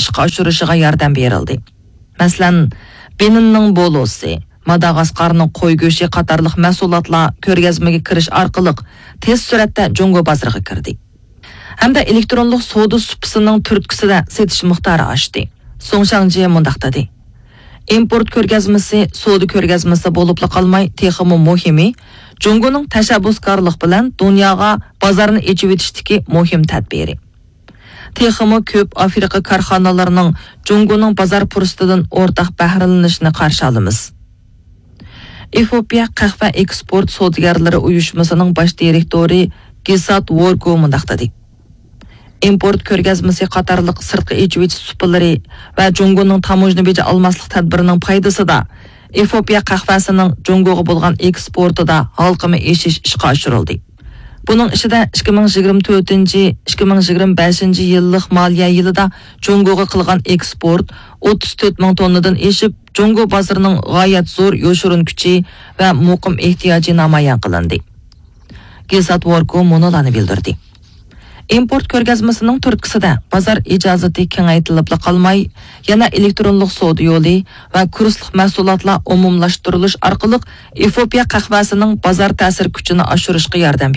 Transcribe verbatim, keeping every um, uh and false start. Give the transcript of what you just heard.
ئىشقا ئاشۇرۇشىغا ياردەم بېرىلدى. مەسىلەن، بېنىننىڭ بولۇسى، ماداغاسقارنىڭ قوي گۆشى قاتارلىق مەھسۇلاتلار كۆرگەزمىگە كىرىش ئارقىلىق تېز سۈرئەتتە جۇڭگو بازىرىغا كىردى. ھەمدە ئېلېكترونلۇق سودا سۇپىسىنىڭ تۈرتكىسىدە سېتىش مىقدارى ئاشتى. سۇڭ شاڭجيې مۇنداق دېدى: ئىمپورت كۆرگەزمىسى سودا كۆرگەزمىسى بولۇپلا قالماي، تېخىمۇ مۇھىمى، جۇڭگونىڭ تەشەببۇسكارلىق بىلەن دۇنياغا بازارنى ئېچىۋېتىشتىكى مۇھىم تەدبىرى. تېخىمۇ كۆپ ئافرىقا كارخانىلىرىنىڭ جۇڭگونىڭ بازار پۇرسىتىدىن ئورتاق بەھرىلىنىشىنى قارشى ئالىمىز. ئېفىئوپىيە قەھۋە ئېكسپورت سودىگەرلىرى ئۇيۇشمىسىنىڭ باش دىرېكتورى گىسات ۋورگو مۇنداق دېدى: ئىمپورت كۆرگەزمىسى قاتارلىق سىرتقا ئېچىۋېتىش سۇپىلىرى ۋە جۇڭگونىڭ تاموژنا بېجى ئالماسلىق تەدبىرىنىڭ پايدىسىدا، ئېفىئوپىيە قەھۋەسىنىڭ جۇڭگوغا بولغان ئېكسپورتىدا ھالقىما ئېشىش ئىشقا ئاشۇرۇلدى. بۇنىڭ ئىچىدە ئىككى مىڭ يىگىرمە تۆتىنچى، ئىككى مىڭ يىگىرمە بەشىنچى يىللىق مالىيە يىلىدا جۇڭگوغا قىلغان ئېكسپورت ئوتتۇز تۆت مىڭ توننىدىن ئېشىپ، جۇڭگو بازىرىنىڭ غايەت زور يوشۇرۇن كۈچى ۋە مۇقىم ئېھتىياجى نامايان قىلىندى. گېزات ۋوركو مۇنۇلارنى بىلدۈردى: ئىمپورت كۆرگەزمىسىنىڭ تۈرتكىسىدە بازار ئىجازىتى كېڭەيتىلىپلا قالماي، يەنە ئېلېكترونلۇق سودا يولى ۋە كۇرسلۇق مەھسۇلاتلار ئومۇملاشتۇرۇلۇش ئارقىلىق ئېفىئوپىيە قەھۋەسىنىڭ بازار تەسىر كۈچىنى ئاشۇرۇشقا ياردەم